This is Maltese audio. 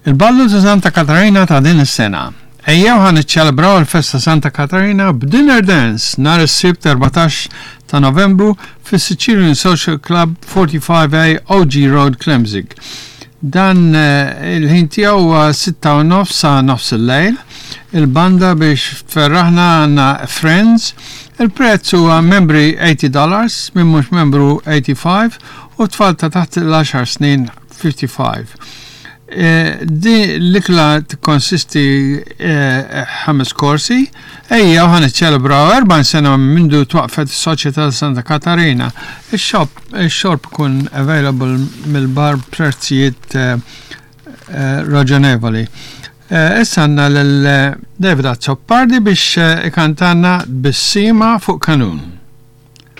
Il-ballu ta' Santa Katarina ta' din is-sena. Ejjew ħa niċċelebraw il-festa Santa Katarina b'dinner dance nhar is-Sibt 14 ta' Novembru fis-Sicilian Social Club 45A OG Road Klemzig. Dan eh, il-ħin tiegħu huwa 6 u nofs sa nofs il-lejl. Il-banda biex tferraħna għandna Friends. Il-prezz huwa membri 80 dollars, min mhux membru 85 u tfal ta' taħt il-10 snin 55. Eh, di l-ikla tikkonsisti eh, ħames korsi, ejja u ħan iċċelebraw 40 sena mindu twaqfet is-Soċjetà Santa Katarina. Ix-xorb ikun available mill-bar prezzijiet eh, raġonevoli. Issa għandna lil David Azzopardi biex ikantanna bissima fuq kanun.